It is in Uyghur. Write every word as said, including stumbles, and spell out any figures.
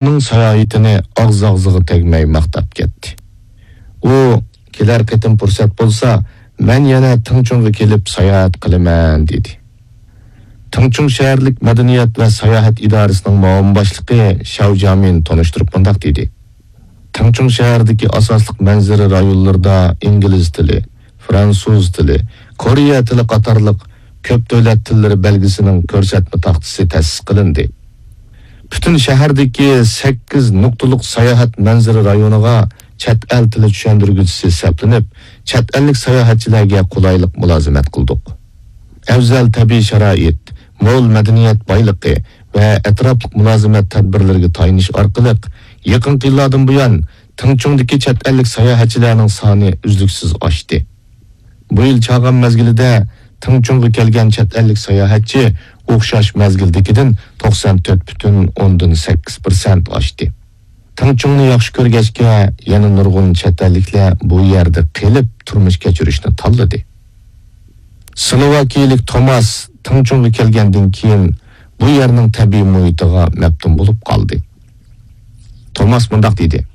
ئۇنىڭ ساياھىتىنى ئاغزى-ئاغزىغا تەگمەي ماختاپ كەتتى. ئۇ، «كېلەر قېتىم پۇرسەت بولسا، مەن يەنە تىڭچۇڭغا كېلىپ ساياھەت قىلىمەن» دېدى. تىڭچۇڭ شەھەرلىك مەدەنىيەت ۋە ساياھەت ئىدارىسىنىڭ مۇئاۋىن باشلىقى شياۋ جيامىن تونۇشتۇرۇپ مۇنداق دېدى: «تىڭچۇڭ شەھەردىكى ئاساسلىق مەنزىرە رايونلىرىدا ئىنگلىز تىلى، فرانسۇز تىلى، كورېيە تىلى قاتارلىق كۆپ دۆلەت تىللىرى بەلگىسىنىڭ كۆرسەتمە تاختىسى تەسىس قىلىندى. پۈتۈن شەھەردىكى سەككىز نۇقتىلىق ساياھەت مەنزىرە رايونىغا چەت ئەل تىلى چۈشەندۈرگۈچىسى سەپلىنىپ، چەت ئەللىك ساياھەتچىلەرگە قولايلىق مۇلازىمەت قىلدۇق. ئەۋزەل تەبىئىي شارائىت، مول مەدەنىيەت بايلىقى ۋە ئەتراپلىق مۇلازىمەت تەدبىرلىرىگە تايىنىش ئارقىلىق، يېقىنقى يىللاردىن بۇيان تىڭچۇڭدىكى چەت ئەللىك ساياھەتچىلەرنىڭ سانى ئۈزلۈكسىز ئاشتى. بۇ يىل چاغان مەزگىلىدە تىڭچۇڭغا كەلگەن چەت ئەللىك ساياھەتچى ئوخشاش مەزگىلدىكىدىن توقسان تۆت پۈتۈن ئوندىن سەككىز پىرسەنت ئاشتى. تىڭچۇڭنى ياخشى كۆرگەچكە، يەنە نۇرغۇن چەت ئەللىكلەر بۇ يەردە قېلىپ تۇرمۇش كەچۈرۈشنى تاللىدى. سلوۋاكىيىلىك توماس تىڭچۇڭغا كەلگەندىن كېيىن بۇ يەرنىڭ تەبىئىي مۇھىتىغا مەپتۇن بولۇپ قالدى. توماس مۇنداق دېدى: